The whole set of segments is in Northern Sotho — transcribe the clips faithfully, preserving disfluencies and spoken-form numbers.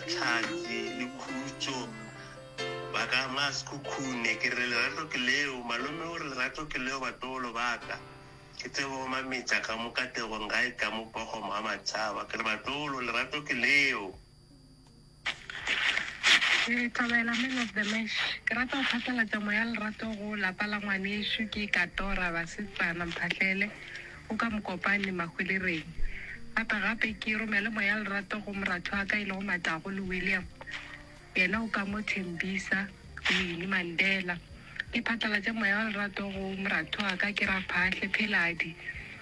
Hlatse le Khutšo ba ka Masekhukhune. Ke re lerato ke leo, malome o re lerato ke leo batlogolo ba ka. Ke tsebo mametša ka mo kategong gae ka mo Pogomo ga Matšhaba. Ke re batlogolo lerato ke leo. Ke thabela man of the match. Ke rata go phatlalatša moya lerato go lapa la ngwanešu ke Katora Basetsana Mphahlele o ka Mokopane Mahwelereng. Gape gape ke romele moya lerato go moratho wa ka e lego Matago le William. Yena o ka mo Thembisa Winnie Mandela. Ke phatlalatše moya wa lerato go moratho wa ka ke Raphahle Pheladi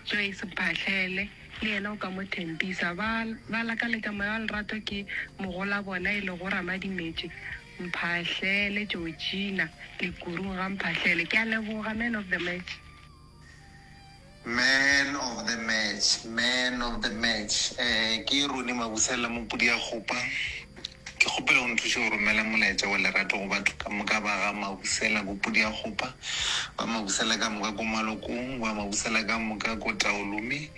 Joyce Mphahlele le yena o ka mo Thembisa. Ba ba lakaletša moya wa lerato ke mogola bona e lego Ramadimetše Mphahlele Georgina Lekurung ga Mphahlele. Ke a leboga man of the match. Man of the match, man of the match. Eh, ke Rone Mabusela Mopudi ya Kgopa. Ke kgopela go nthuše go romela molaetša wa lerato go batho ka moka ba ga Mabusela ko Pudi ya Kgopa, ba Mabusela ka moka ko Malokong, ba Mabusela ka moka ko Taolome,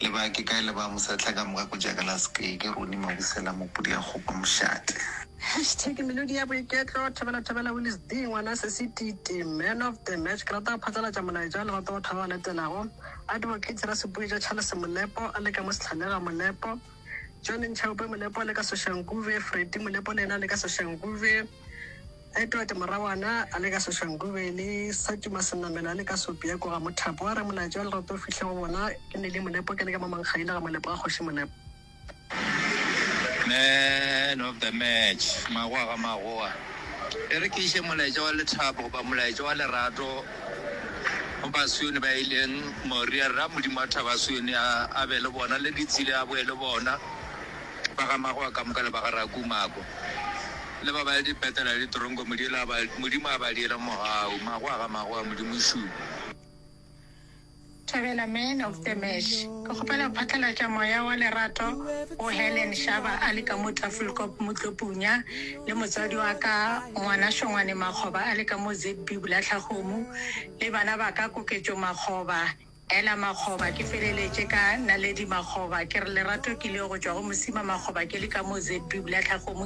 le ba ke kae le ba Mosehla ka moka ko Jakalaske. Ke Rone Mabusela Mopudi ya Kgopa mošate. Hashtag melodi ya boiketlo thobela thobela Willis D ngwana se Tite man of the match. Ke rata go phatlalatša molaetša wa lerato batho ba ba latelago: Advocate Rasepuetša Charles Molepo a le ka mo Setlhalega Molepo, John Nchaupe Molepo a le ka Soshanguve, Freddy Molepo le yena a le ka Soshanguve, Edward Morawana a le ka Soshanguve le Satuma Senamela a le ka Sopia ko ga Mothapo. A re molaetša wa lerato o fihle go bona. Ke Nele Molepo, ke le ka mo Mankgaile ga Molepo ga Kgoši Molepo. Man of the match, magoa ga magoa. E re ke iše molaetša wa lethabo goba molaetša wa lerato go Basione ba ileng Moria. Ra Modimo wa thaba Sione a a be le bona le ditsile a boe le bona ba ga magoa ka moka le ba ga Rakumako le ba ba le dipetela le ditoronko. Modimo a ba Modimo a ba diele mogau. Magoa ga magoa, Modimo šupa. Thabela man of the match. Ke kgopela go phatlalatša moya wa lerato go Helen Shaba a le ka mo Tafelkop Motlopunya le motswadi wa ka ngwana Shongwane Makgoba a le ka mo Z B Bolatlhakgomo le bana ba ka Koketšo Makgoba, Ela Makgoba, ke feleletše ka Naledi Makgoba. Ke re lerato ke leo go tšwa go Mosima Makgoba ke le ka mo Z B Bolatlhakgomo.